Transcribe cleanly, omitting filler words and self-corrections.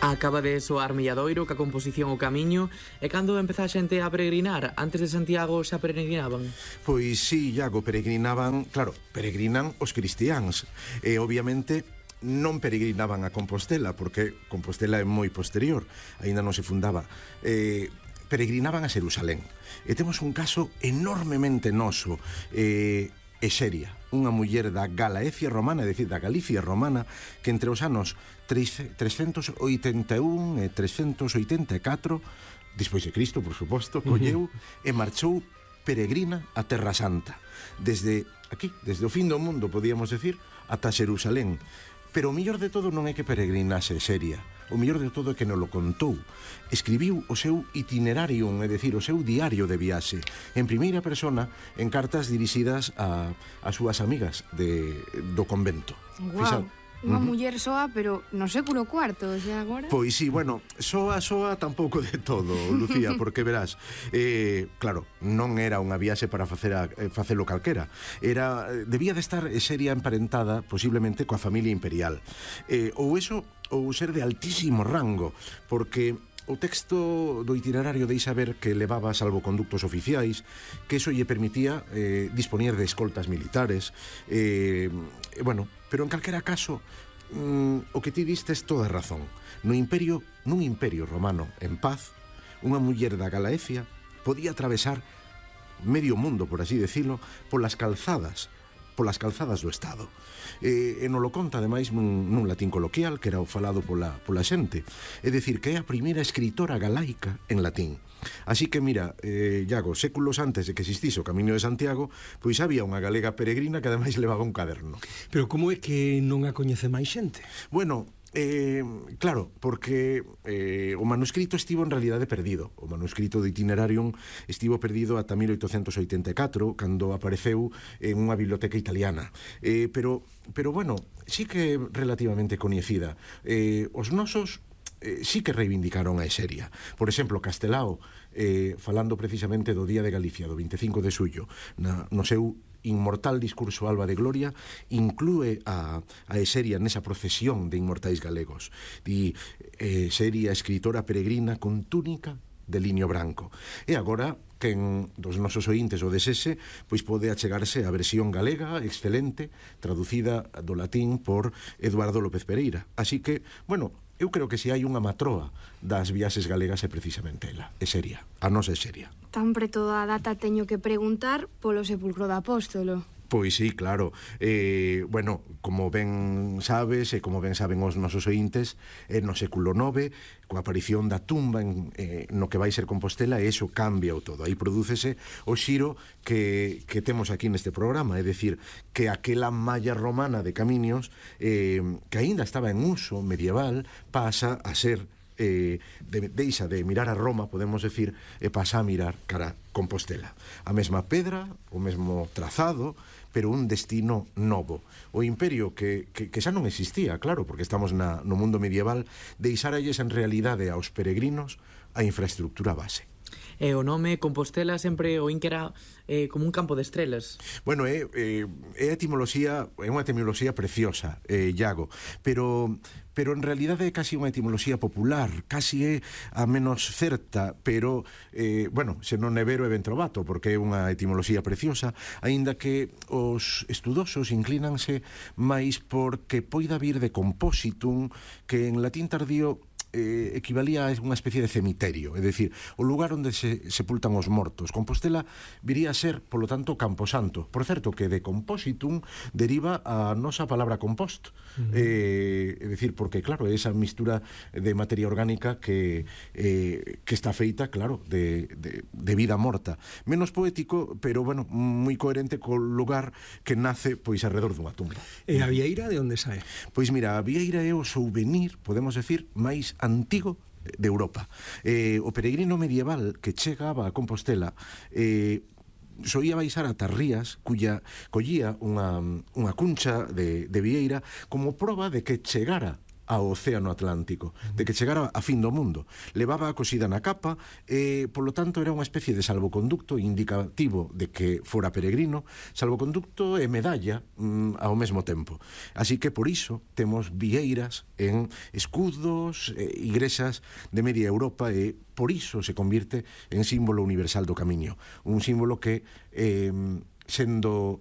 Acaba de soar Milladoiro ca composición O Camiño. E cando empeza a xente a peregrinar? Antes de Santiago xa peregrinaban? Pois sí, Iago, peregrinaban, claro, peregrinan os cristiáns. E obviamente non peregrinaban a Compostela, porque Compostela é moi posterior, aínda non se fundaba. Peregrinaban a Xerusalén. E temos un caso enormemente noso, Exeria, unha muller da Galaecia romana, é dicir, da Galicia romana, que entre os anos 381 e 384, despois de Cristo, por suposto, colleu e marchou peregrina a Terra Santa. Desde aquí, desde o fin do mundo, podíamos decir, ata Xerusalén. Pero o mellor de todo non é que peregrinase Exeria. O mellor de todo é que non lo contou. Escribiu o seu itinerarium, é dicir, o seu diario de viaxe, en primeira persona, en cartas dirixidas a súas amigas do convento. Guau, unha muller soa, pero no século IV, xa agora? Pois sí, bueno, soa tampouco de todo, Lucía, porque verás, claro, non era unha viaxe para facelo calquera. Debía de estar Exeria emparentada, posiblemente, coa familia imperial. Ou ser de altísimo rango, porque o texto do itinerario deixa ver que levaba salvoconductos oficiais, que eso lle permitía dispoñer de escoltas militares, bueno, pero en calquera caso o que ti distes toda razón. Nun imperio romano en paz, unha muller da Galaecia podía atravesar medio mundo, por así decirlo, polas calzadas do Estado. E non lo conta, ademais, nun latín coloquial, que era o falado pola xente. É dicir, que é a primeira escritora galaica en latín. Así que, mira, Iago, séculos antes de que existise o Camiño de Santiago, pois había unha galega peregrina que ademais levaba un caderno. Pero como é que non a coñece máis xente? Bueno, claro, porque o manuscrito estivo en realidade perdido. O manuscrito do Itinerarium estivo perdido ata 1884, cando apareceu en unha biblioteca italiana. Pero bueno, sí que é relativamente coñecida. Os nosos sí que reivindicaron a Exeria. Por exemplo, Castelao, falando precisamente do Día de Galicia, do 25 de xullo, no seu inmortal discurso Alba de Gloria, inclúe a Exeria nesa procesión de inmortais galegos. Di, Exeria, escritora peregrina con túnica de liño branco. E agora, quen dos nosos ointes o desese, pois pode achegarse a versión galega excelente, traducida do latín por Eduardo López Pereira. Así que, bueno, eu creo que se hai unha matroa das viaxes galegas é precisamente ela, Exeria, a nosa Exeria. Tan preto da data teño que preguntar polo sepulcro do apóstolo. Pois sí, claro. Bueno, como ben sabes e como ben saben os nosos ointes, no século IX, coa aparición da tumba no que vai ser Compostela, e iso cambia o todo. Aí prodúcese o xiro que temos aquí neste programa, é dicir, que aquela malla romana de camiños que aínda estaba en uso medieval pasa a ser deixa de mirar a Roma, podemos decir, e pasa a mirar cara a Compostela. A mesma pedra, o mesmo trazado, pero un destino novo. O imperio que xa non existía, claro, porque estamos no mundo medieval, deixaralles en realidade aos peregrinos a infraestructura base. E o nome Compostela sempre o inquera como un campo de estrelas. Bueno, é unha etimoloxía preciosa, Iago, pero en realidade é casi unha etimoloxía popular, casi é a menos certa, pero, bueno, se non é vero é ben trovato, porque é unha etimoloxía preciosa, aínda que os estudosos inclínanse máis porque poida vir de compositum, que en latín tardío equivalía a unha especie de cemiterio, é dicir, o lugar onde se sepultan os mortos. Compostela viría a ser, polo tanto, Camposanto. Por certo, que de compositum deriva a nosa palabra compost. É dicir, porque, claro, é esa mistura de materia orgánica que está feita, claro, de vida morta. Menos poético, pero, bueno, moi coherente co lugar que nace, pois, alrededor dunha tumba. E a vieira de onde sae? Pois mira, a vieira é o souvenir, podemos decir, máis antigo de Europa. O peregrino medieval que chegaba a Compostela soía baixar a Tarrías, collía unha cuncha de vieira como proba de que chegara ao océano Atlántico, de que chegara a fin do mundo. Levaba a cosida na capa e, polo tanto, era unha especie de salvoconducto indicativo de que fora peregrino, salvoconducto e medalla ao mesmo tempo. Así que, por iso, temos vieiras en escudos, igrexas de media Europa e por iso se convirte en símbolo universal do camiño. Un símbolo que, sendo